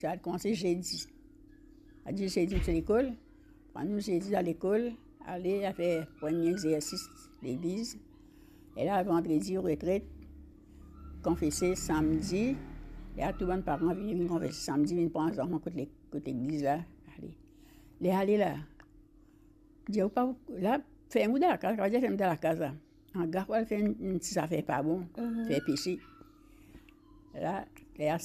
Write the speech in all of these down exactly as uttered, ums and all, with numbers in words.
Sa al koumans zedi. A dir zedi nou ti lekol, pran nou zedi al lekol, ale al fer premie exersis legliz. E la vandredi retret, konfese samdi. E la tou bann paran vini, vinn konfese samdi, vinn pran zanfan kot le-, kot legliz la, ale. Le ale la, dir ou pa, la, ferm ou dan lakaz, pa dir ferm dan lakaz la. Anga pou al fer enn, enn ti zafer pa bon, fer pese. La, ler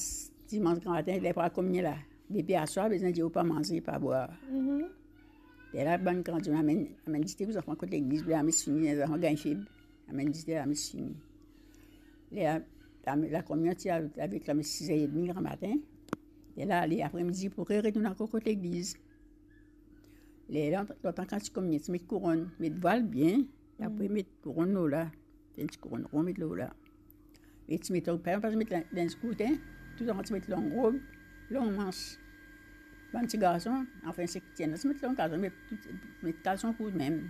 dimans gramatin, ler pou al kominie la, depi aswar, bizin dir ou pa manze, pa bwar. Lerla bann gran dimoun amenn, amenn dite pou zanfan kot legliz, pou lames fini, zanfan gagn feb, amenn dite, lames fini. Ler la, la, lakominion ti al avek lames siz er edmi gramatin. Lerla ale apremidi pou re-, retourn ankor kot legliz. Lerla, lontan kan ti kominie, ti met kouronn, met vwal bien, apre met kouronn lor la. Fer enn ti kouronn ron, met lor la. E ti met, pa, pa ti met lin-, linz kourt, hein. Tou zanfan ti met long rob, long mans. Bann ti garson, anfin, seki ti ena, ti met long kalson, met tou, met kalson kourt mem.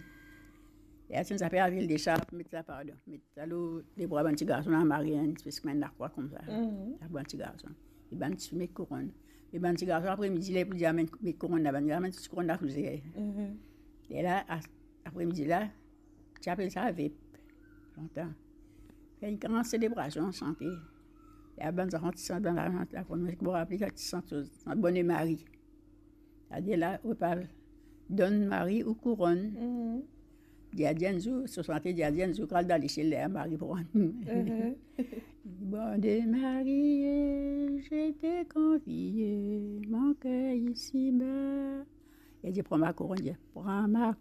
E la ti ena zafer lavil desarp, met sa, pardon, met sa lor lebra bann ti garson, amare enn espes kouma enn lakrwa koumsa. Sa pou bann ti garson. E bann tifi met kouronn. E bann ti garson, apremidi, ler pou dir amenn, met kouronn la, bann ti amenn ti kouronn lakouzer. E la, a-, apremidi la, ti apel sa vep, lontan. Fer enn gran selebrasion, sante. E bann zanfan ti sant, bann la, la, la, mo rapel sa ti sant, sant Bone Mari. Savedir la, ou pa donn Mari ou kouronn. Dir, dir enn zour, so sante, dir, dir enn zour, k'al dan lesiel, ler Mari pran nou. Bone Mari, je te konfie mon ker isiba. E dir, pran ma kouronn, dir, pran ma